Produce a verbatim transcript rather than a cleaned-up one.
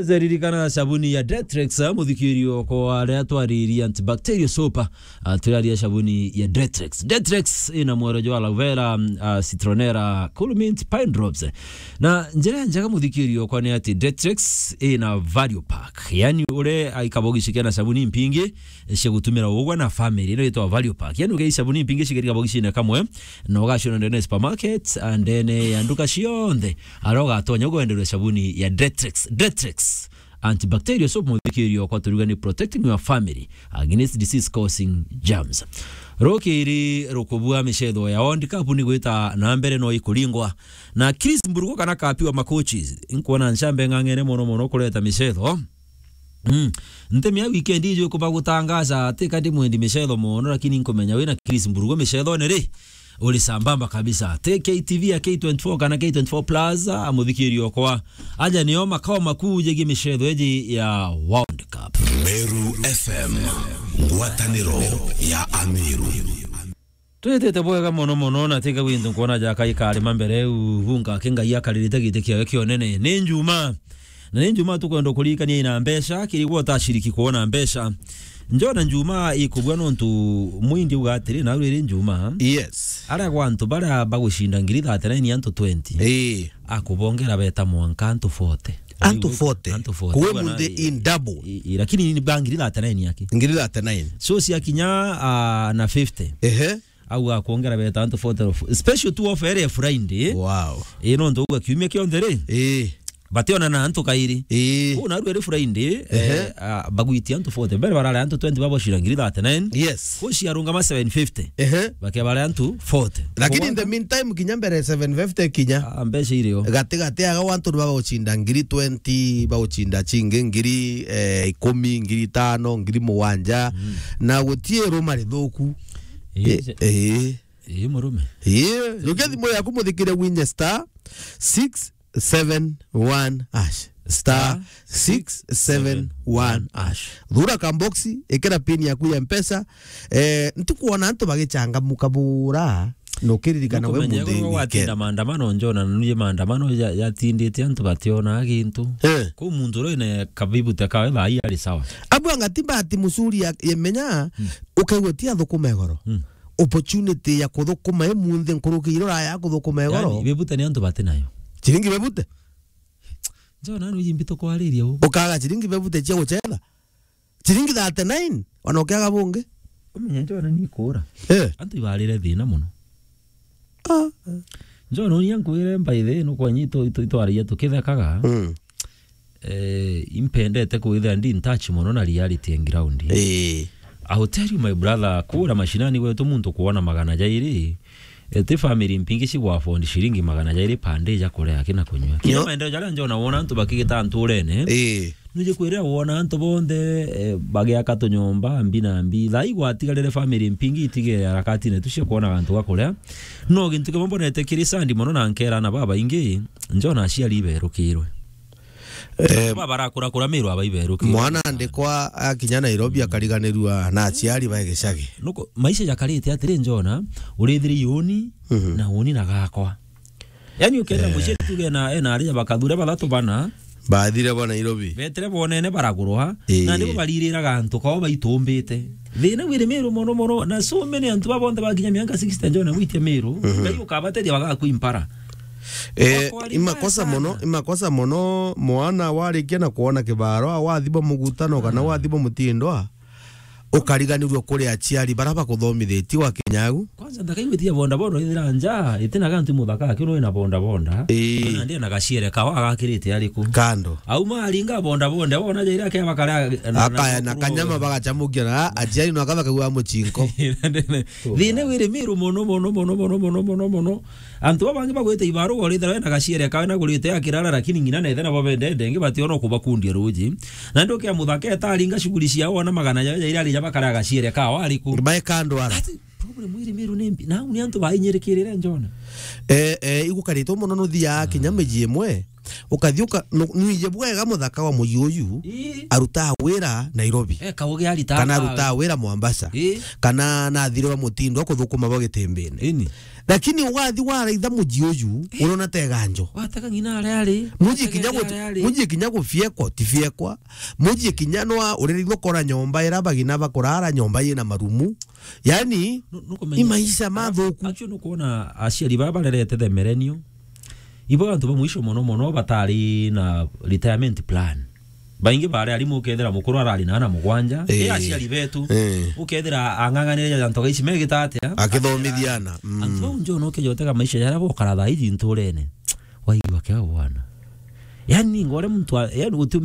Zeririkana sabuni ya Detrex, ah, muthikiri okwa aria twaririe antibacterial soap, ah, turaria sabuni ya Detrex. Detrex ina mwero jwa aloe vera, ah, citronella, cool mint, pine drops. Na njira njega muthikiri okwa ni ati Detrex ina value pack. Yani ure aikabogici kena sabuni mpingi cia gutumira ugwa na family. Ino itwa value pack. Yani uge sabuni mpingi cigerika bogicine kamwe, na ugaciona ndene ya supermarket, ah, ndene ya nduka cionthe. Ara ugatonya ugwenderwe sabuni ya Detrex. Detrex antibacterial soap, muthikiri okwa, turuga ni protecting your family against disease causing germs. Rukiri rukubua micetho ya World Cup ni gwita na mbere no ikuringwa. Na Chris Mburugo kana kapi wa makochi, nkuona ncambe ng'ang'ene mono mono kureta micetho. Mm. Ntemi ya weekend iji kuba gutangaza, ati ka ndi mwendi micetho mono, lakini nkumenya wina Chris Mburugo micethone ri, uri sambamba kabisa. Te K T V ya K twenty-four kana K twenty-four Plus, a muthikiri okwa. Aja nio makao makuu jegie micetho iji ya World Cup. Meru F M, ngwataniro ya Ameru. Twitite bwega mono mono, na tiga gwintu nkuona jaka ikarima mbere u, hunga kingai akaririte giti kiawe kionene. Ni Njuma. Na ni Njuma tukwenda kuririkania ina mbeca, kirigwo utashiriki kuona mbeca. Njona Njuma ikubua nontu mwindi uga atiri, na riri Njuma. Yes. Aria gwa antu baria bagucinda ngiri thirty-nine antu twenty. Ii. Akubongera beta mwanka antu forty. Antu forty. Antu forty. Kuwe munthi in double. I, i, lakini ni ba ngiri thirty-nine yake. Ngiri thirty-nine. So cia kinya, ah, na fifty. Ehe. Au akwongera beta antu forty of, special tu offer ere Friday. Wow. Ii, nontu uga kiumia kionthe ri. Ii. Bationa na antu kairi. Ii. Kuu naru eri Friday, ehe, eh, ah, bagwitia antu forty. Mbere barare antu twenty babocira ngiri thirty-nine. Yes. Kuu ciarungama seven fifty. Ehe. Bakebare antu forty. Lakini in the meantime, kinya mbere seven fifty kinya. Ah, mbeca irio. Gati gati aga antu ni bagocinda ngiri twenty, bagocinda cingi ngiri, eh, ikumi, ngiri itano, ngiri mugwanja. Mm. Na gutie ruma rithuku. Ii, eh, eh. Ii, murume. Ii, jukia thimu yaku muthikire winye star six seven one hash. Star six seven one hash. Thura kamboxi, ikira pin yaku ya Mpesa. Eh, ntikuona antu bagichangamuka bura, na ukiririkana we munthi weekend. Gwatinda maandamano, njona na nuje maandamano ya, yatindite antu bationa gintu. Eh. Ku muntu uri ne kabibute kawe thaa ii ari sawa. Abu angati bahati mzuri ya, yemenya, hmm, ukaigua ti athukuma igoro. Hmm. Opportunity ya kuthukuma i munthi nkuruki irora ya kuthukuma igoro. Yani, bebute ni antu bati nayo. Chiringi bebute? Njona nanu iji mbitu kwariria u. Ukaga chiringi bebute cia guchetha. Chiringi thirty-nine, ona ukiaga bungi. Umenye njona ni kura. Eh. Antu ibarire thina muno. Ah. Njona uria nkwire by the way, no kwanyi itu, itu, itwaragia tukithekaga. Mm. Eh, impendete kwithira ndi in touch mono na reality ya ground. Eh. I will tell you, my brother, kura mashinani gwetu muntu kuona magana jairi, eh, ti family mpingi cigwa afford ciringi magana jairi per day ja kuria aki na kunywa. Kila maendeleo jaria njona wona antu bakigita nturene. Eh. Nuje kwirira wona antu bonthe, eh, bagiaka tunyomba mbi na mbi. Thai gwatigarire family mpingi itige harakatine tu cia kuona gantu ga kuria. No gintu kimwe mbonete kiri sandi mono na nkera na babaingi, njona aciari iberukirwe. Eh, ba barakurakura Meru aba iberukirwe. Mwana andikwa akinya Nairobi akariganirua na aciari bae gicagi. Nuko, maisha jakarite atiri njona, urithiri yuni, mhm, na uni na gakwa. Yani ukenda, eh, muciari tuge na, ena aria bakathure bathatu bana. Bathire bo Nairobi. Betire bonene baragurwa. Ii. Na nibo baririraga antu kao baitumbite. Thina wiri Meru mono mono. Na so many antu babonthe bakinya miaka sixty njona gwitia Meru. Mhm. Ngai ukabateria bagakwimpara. Eh, imakosa mono, imakosa mono mwana warikia na kuona kibaro, wathi bo mugutano kana, ah, wathi bo mutindwa. Ukariganirua kuri aciari bara bakuthomithitie wa kinyagu. Kwanza ndakaigwitia boda boda ithira nja, itina gantu muthaka aki no ina boda boda. Ii. Na ndia na gaciere kao agakirite ariku. Kando. Auma aringa boda boda, wona jaira ke bakara na, akaya na kanyama bagachamukia na aciari no akaba kagua muchinko. Thina wiri Meru mono, mono, mono. Antu babangi bagwite ibaruga urithira wena gaciere kawe na gurite akirara, lakini ngina nethe nabo bendete, ingi bationa kubakundia ruji. Na ndio kia muthaka etaringa shughuli ciao, ona magana ja, ja irari ja bakara gaciere kao ariku. Bae kando ara. Ati, problem iri Meru ni mbi. Na ni antu bainyirikirire njona. Eh, eh, igukaritwo mono nuthia, ah, kinya miji imwe. Ukathi uka-, nu-, nwije bwega muthaka wa muji uyu, Ii. arutaa wira Nairobi. Eh, kaugi arita Kana aka- arutaa wira Mombasa. Ii. Kana nathire wa mutindo wa kuthukuma bo Gitimbini. Ini. Lakini ugathi waraitha muji uyu, urona teganjo. Watega ng'ina aria ari. Muji Watega kinya ng'ina guti-, aria ari. Muji kinya gufiekwa, tifiekwa. Muji kinya nwa uriri nukora nyomba ira bagina bakurara, nyomba yina marumu. Yani, Nu-, nukumenya- ni maisha mathuku. Actually, nukwona aciari baba barerete the millennial. Ibo antu ba mwisho mono mono batari na retirement plan. Baingi bari arimu ukethira mukuru arari na ana mugwanja. Eh. E aciari betu. Eh. Ukethira ang'ang'anire ja ntoga ici megita atia? Akithomithia ana. Mm. Antu bau njo no kejotega maisha jaria bokara thaa iji nturene. Waigua kia bwana. Yani ngore muntu a-, yani utume